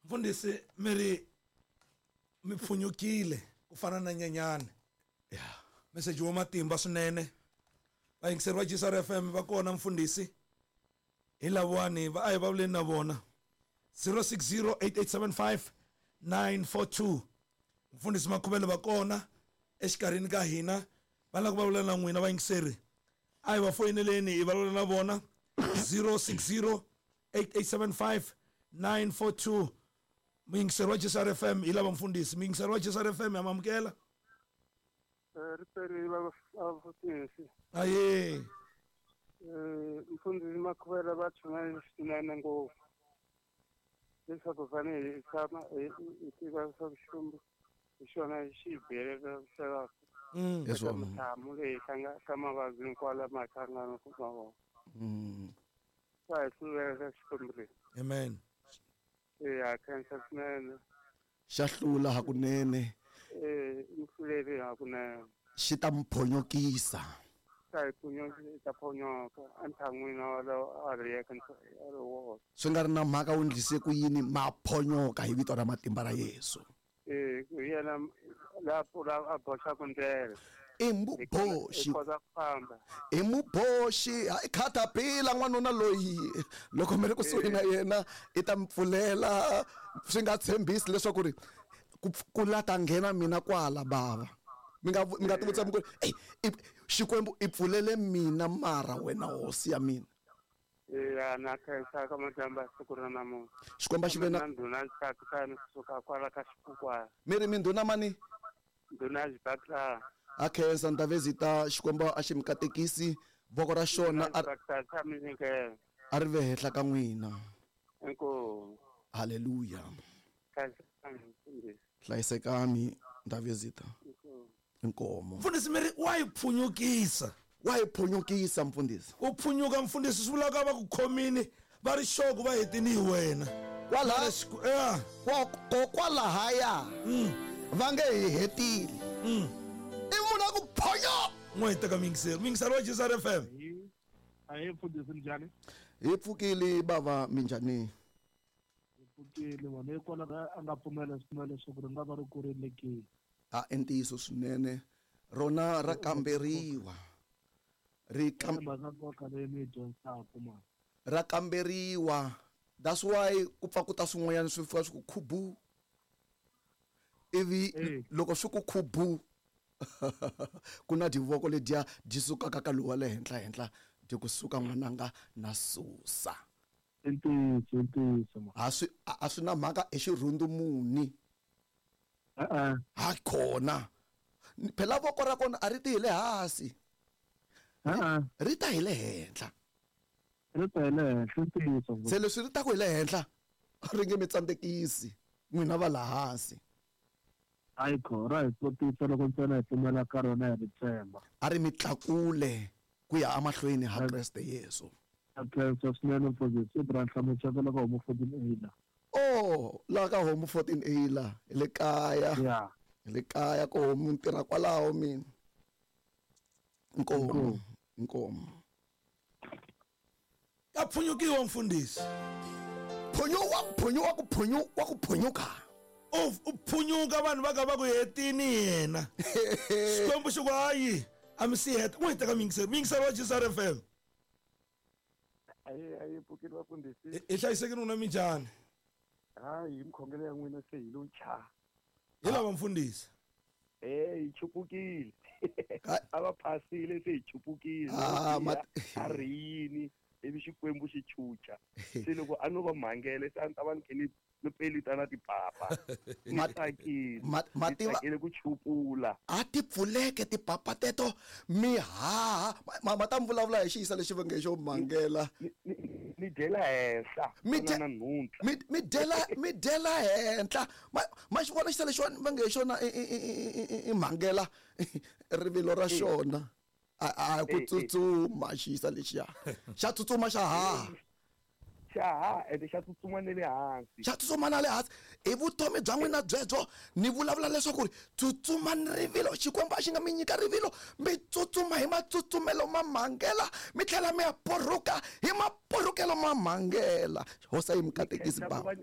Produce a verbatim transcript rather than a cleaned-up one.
Mfundhisi mi ri mi pfunyukile ku fana na nyenyani. Yeah. Message wa matimba swinene. Vayingiseri va G S R F M va kona mfundhisi. Hi lavawani va a hi vulavuleni na vona. zero six zero eight eight seven five nine four two. Mfundhisi Makhuvele va kona exikarhini ka hina. Va lava ku vulavula na n'wina vayingiseri. A hi va foyineleni hi vulavula na vona. zero six zero eight eight seven five nine four two. Muyingiseri wa G S R F M hi lava mfundhisi. Muyingiseri wa G S R F M ya mamukela. Ri perile vafundhisi. Aye. Eh mfundhisi Makhuvele va chumayela swinene ngopfu. Leswaku fanele hi tshama hi tiva leswaku Xikwembu hi xona xi hi byelaka Yes, mintlhamu leyi ka mavabyi hinkwawo lama hi hlanganaka na wona. Swa hi hluleka Xikwembu lexi. Amen. Eh ha khensa swinene. Xa hlula hakunene. Eh mi hluleli hakunene. Xi ta mi phonyokisa. Ta hi phonyoka, ta phonyoka entlhan'wini walowo a ri yeke a ri woxe. Swi nga ri na mhaka wu endlise ku yini ma phonyoka hi vito ra matimba ra Yesu. Eh hi yena la pfula a boxaka ndlela. I muboxi. Hi kota ku famba. I muboxi, i khatapila n'wanuna loyi. Loko mi ri kusuhi na yena i ta mi pfulela swi nga tshembisi leswaku ri ku la ta nghena mina kwala bava. Mi nga mi nga tivutisa mi ku ey Xikwembu i pfulele mina mara wena hosi ya mina. Ya na khensa ka madyambu ya siku ra namuntlha. Xikwembu xi ve na ndhuna Xibakisani kusuka kwala ka Xikukwana. Mi ri mi ndhuna mani? Ndhuna Xibakisani. A khensa Ndhavezita, Xikwembu a xi mi katekisi voko ra xona a ri ve henhla ka n'wina. Inkomu. Haleluya. Hlayisekani Ndhavezita. Inkomo. Mfundhisi mi ri wa yi phunyukisa. Wa yi phunyukisa mfundhisi. Ku phunyuka mfundhisi swi vula ka va ku khomini va ri xoku va hetini hi wena. Kwala kokwalahaya va nge hi hetile. I munhu a ku phonyo. N'we hi teka muyingiseri. Muyingiseri wa G S R F M. Ahe mfundhisi minjhani? Hi pfukile bava minjhani? Hi pfukile vona hikwalaho a nga pfumela swinene leswaku ri nga va ri kurile ke. A i ntiyiso swinene rona ra kamberiwa. Ri kam ra kamberiwa. That's why ku pfa ku ta swin'wanyana swi fika swi ku khubu. Ivi loko swi ku khubu ku na divoko ledya dyi sukaka ka lowa le henhla henhla dyi ku suka n'wananga na susa. I ntiyiso, i ntiyiso. A swi a swi na mhaka i xirhundu muni. E-e. Ha kona. Phela voko ra kona a ri ti hi le hansi. E-e. Ri ta hi le henhla. Ri ta hi le henhla, ntiyiso. Se leswi ri ta ku hi le henhla ri nge mi tsandzekisi n'wina va la hansi. Ayikho ra hi tlotisa loko ntsena hi pfumela ka rona hi ri tshemba. A ri mi tlakule ku ya emahlweni ha Kreste Yesu. A khensa swinene mfundhisi Ibrahim Muchaka ka Homu fourteen A la. Oh, la ka Homu fourteen A la, hi le kaya. Yeah. Hi le kaya ko Homu ntirha kwalaho mina. Inkomo, inkomo. Ka phunyukiwa mfundhisi. Phunyuwa, phunyuwa ku phunyuwa ku phunyuka. U phunyuka vanhu va ka va ku hetini yena. Xikwembu xi ku hayi a mi si heta. N'wi teka muyingiseri. Muyingiseri wa G S R F M. Ayi ayi pfukile vafundhisi. Hi hlayisekile n'wina minjhani? Hayi mikhongelo ya n'wina se hi lo cha. Hi lava mfundhisi. Eh hi chupukile. A va phasile se hi chupukile. A ri yini ivi Xikwembu xi chucha. Se loko a no va mhangele se a ni ta va ni khe ni ni pelita na tipapa. Ni tsakile. Ma tiva ku chupula. A ti pfuleke tipapa teto mi haha. Ma ta mi vulavula hi xiyisa lexi va nge xo mhangela. Mi dyela henhla. Mi mi dyela mi dyela henhla. Ma ma xi vona xisa lexiwani va nge xona i mhangela rivilo ra xona. A a ku tsutsuma xiyisa lexiya. Xa tsutsuma xa haha. Xa ha ende xa tsutsuma na le hansi. Xa tsutsuma na le hansi. I vutomi bya n'wina byebyo ni vulavula leswaku ri tsutsuma ni rivilo. Xikwembu a xi nga mi nyika rivilo mi tsutsuma hi matsutsumelo ma mhangela mi tlhela mi ya porhuka hi maporhukelo ma mhangela. Hosi yi mi katekisi baba.